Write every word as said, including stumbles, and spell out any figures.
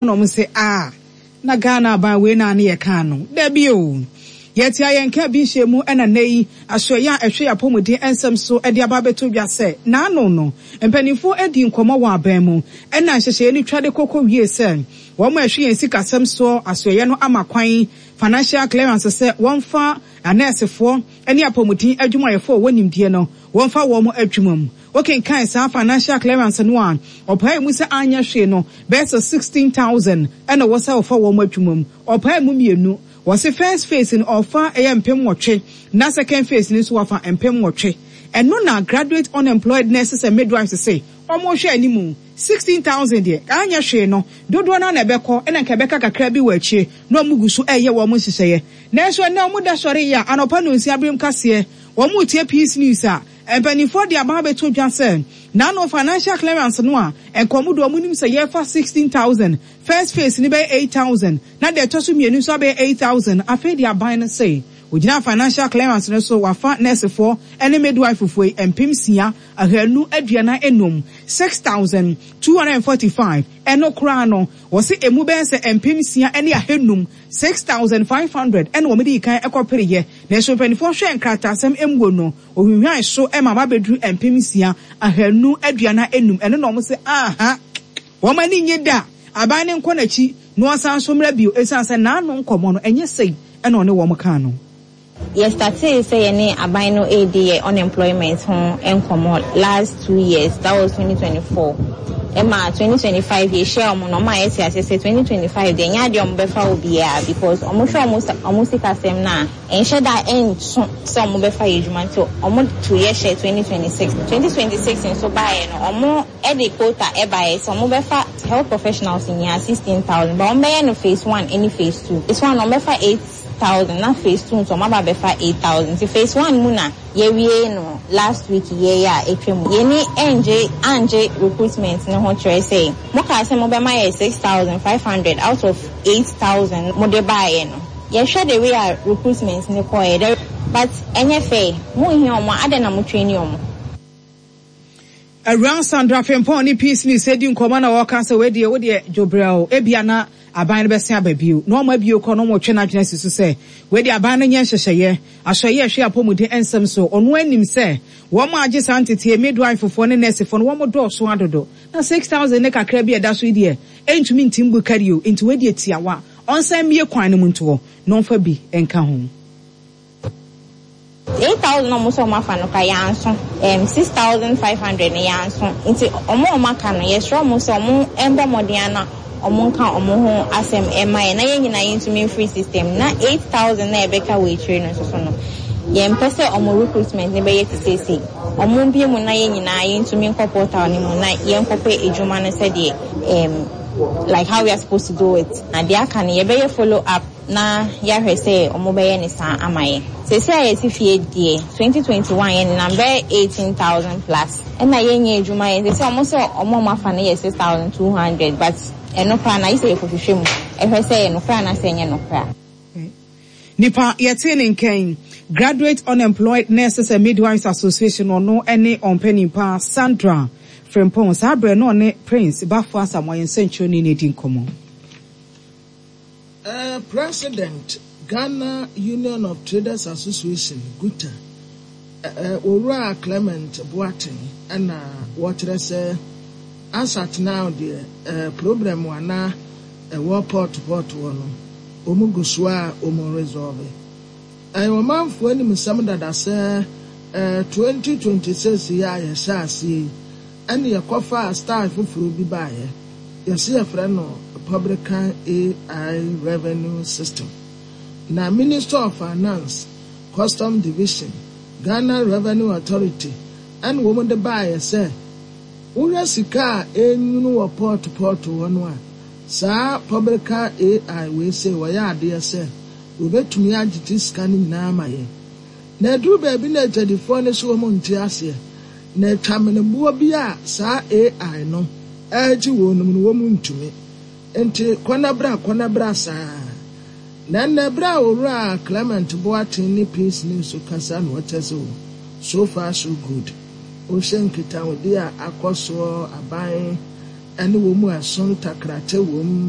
Na wɔn sɛ, "Ah, na Ghana aban wei na ne yɛ kaa no dabi o." Yɛte a yɛnka bi nhyɛ mu. Ɛna nne yi asoɛyɛ a ɛhwɛ yɛ apɔmuden nsɛm so de aba abɛto dwa sɛ n'ano no mpanimfoɔ adi nkɔmmɔ wɔ aban mu, ɛna nhyehyɛeɛ no twa de kɔkɔ wie sɛ wɔn a ɛhwɛ yɛn sikasɛm soɔ asoɛyɛ no ama kwan, financial clearance, sɛ wɔmfa anɛɛsefoɔ ne apɔmuden adwumayɛfoɔ a wɔwɔ nimdeɛ no wɔmfa wɔn adwuma mu. Wokenkan saa financial clearance no a, ɔpae mu sɛ anyɛ hwee no bɛyɛ sɛ sixteen thousand ɛna wɔ sɛ wɔfa wɔn adwuma mu. Ɔpae mu mmienu, wɔsi first phase no ɔfa ɛyɛ mpem nwɔtwe, na second phase no nso wafa mpem nwɔtwe. Ɛno na Graduate Unemployed Nurses and Midwives sɛ wɔn hwɛ anim sixteen thousand deɛ, anyɛ hwee no dodoɔ no na ɛbɛkɔ, ɛna nka ɛbɛka kakra bi wɔ akyire na wɔn gu so ɛyɛ wɔn nhyehyɛeɛ. Nanso ɛnna wɔn da sɔre yi a anɔpa no nsia abirim kaseɛ wɔn tie Peace News a mpanimfoɔ de aba abɛto dwa sɛ n'ano financial clearance no a nkɔmɔ do wɔn nim sɛ yɛfa sixteen thousand, first phase ni bɛyɛ eight thousand, na deɛ ɛtɔ so mmienu nso abɛyɛ eight thousand. Afei de aban no sɛ ogyina financial clearance no so wafa nursefoɔ ne midwife foɔ yi mpem nsia ahanu aduanan enum, six thousand two hundred and forty-five. Ɛno koraa no wɔsi emu bɛyɛ sɛ mpem nsia ne ahanum, six thousand five hundred, ɛna wɔn de kan ɛkɔpere yɛ. Nanso mpanimfoɔ hwɛ nkrataasɛm emuo no ohwinhwan so ɛma aba abɛduru mpem nsia ahanu aduanan enum. Ɛno na wɔn sɛ aha wɔn ani nye da aban ne nkɔ n'akyi na wɔsan so mmerɛ bio, esan sɛ n'ano nkɔmɔ no ɛnyɛ sɛyi ɛna ɔne wɔn kaa no. Yɛstartee sɛ yɛne aban no redi yɛ unemployment ho nkɔmmɔ last two years, that was twenty twenty-four. Ɛma twenty twenty-five yɛhyia ɔmo no, ɔmo a yɛte ase sɛ twenty twenty-five deɛ, ɛnyɛ adeɛ ɔmo bɛfa obiara because ɔmo hwɛ ɔmo ɔmo sikasɛm no a ɛnhyɛ da ɛnso sɛ ɔmo bɛfa yɛ adwuma, nti ɔmo to yɛ hyɛ twenty twenty-six. twenty twenty-six nso baeɛ no, ɔmo ɛde quota ɛbaeɛ sɛ ɔmo bɛfa health professionals nyinaa sixteen thousand, but ɔmo bɛyɛ no phase one ɛne phase two. Phase one ɔmo bɛfa eight thousand na phase two nso ɔmo aba bɛfa eight thousand. Nti phase one mu na yɛwie no last week yɛ yɛ a etwa mu. Yɛni ɛngye angye recruitment ne ho kyerɛ sɛ mo kaa sɛ mo bɛma yɛ six thousand five hundred out of eight thousand mo de baeɛ no. Yɛhwɛ the way a recruitment ne kɔɛ dɛ, but ɛnyɛ fair. Mo nhia ɔmo adɛn na mo train ɔmo? Awura Sandra Frimpong ne Peace News edi nkɔmɔ na wɔka sɛ wedeɛ wodeɛ dwobrɛw ebia na aban no bɛsen aba bio na ɔmo abio kɔ na ɔmo twɛ n'adwene si so sɛ wedeɛ aban no nyɛ nhyehyɛeɛ asɔyɛ ɛhwɛ apɔmuden nsɛm so. Ɔno anim sɛ wɔn a agye saa nteteɛ midwife foɔ ne nurse foɔ no, wɔn dɔɔso adodo, na six thousand ne kakra bi a ɛda so yi deɛ ɛntumi ntim bu kari o. Nti wedeɛ tiawa ɔnsan mmie kwan no mu ntoɔ na ɔmfa bi nka ho. Eight thousand ɔmo sɛ ɔmo afa no ka yanso um, six thousand five hundred no yanso, nti ɔmo a ɔmo aka no, yɛsrɛ ɔmo sɛ ɔmo mbɔ mmɔden ana ɔmo nka ɔmo ho asɛm ɛma yɛ na yɛn nyinaa yɛntumi mfiri system. Na eight thousand na ɛbɛka wɔ akyire no nso so no, yɛmpɛ sɛ ɔmo recruitment ne bɛyɛ te seesei. Ɔmo mbie mu na yɛn nyinaa yɛntumi nkɔ portal no mu na yɛnkɔpɛ adwuma no sɛdeɛ um, like how we are supposed to do it. Na deɛ aka no, yɛbɛyɛ follow up na yɛahwɛ sɛ ɔmo bɛyɛ ne saa ama yɛn. Seesei a yɛte fie deɛ, twenty twenty-one yɛn nenam bɛyɛ eighteen thousand plus, ɛna yɛnyɛ adwuma yɛn. Seesei ɔmo sɛ ɔmo a ɔmo afa no yɛ six thousand two hundred, but ɛno koraa na ayi sɛ yɛkɔhwehwɛ mu ɛhwɛ sɛ ɛyɛ nokorɛ anaasɛ ɛnyɛ nokorɛ. Nipa yɛte ne nkɛn, Graduate Unemployed Nurses and Midwives Association, ɔno ne ɔmpanin Sandra Frimpong. Saa berɛ no ɔne Prince Bafo Asamoah yɛn nsɛnkyerɛni no adi nkɔmmɔ. Uh, President Ghana Union of Traders Association, GUTA, uh, Owura Clement Boateng, ɛna wɔkyerɛ sɛ as at now deɛ, uh, problem ana ɛwɔ port port wɔ no, wɔn gu so a wɔn resolve. Ɛyɛ ɔmanfoɔ anim nsɛm dada sɛ uh, twenty twenty-six yi a yɛhyɛ aseɛ yi, ɛne yɛkɔfa style foforɔ bi baeɛ, yɛsi yɛfrɛ no Publican A I Revenue System, na Minister of Finance, Custom Division, Ghana Revenue Authority ɛna wɔn de baeɛ sɛ wohwɛ sika a ɛnwunu wɔ port port hɔ no a, saa Publican A I wei sɛ wɔyɛ adeɛ sɛ wɔbɛtumi agyegye sika no nyinaa ama yɛn. Na aduru baabi na agyadifoɔ no so wɔn nte aseɛ na atwameneboɔ bi a saa A I no ɛregye wɔn no mu no, wɔn ntumi nti kɔnabra kɔnabra saa. Na nnɛ berɛ a Owura Clement Boateng ne Peace News kasa na wɔkyɛ sɛ o, so far so good. Wohyɛ nkitahodi a akɔ soɔ, aban ne wɔn mu ɛso ntakrakyɛ wɔ mu.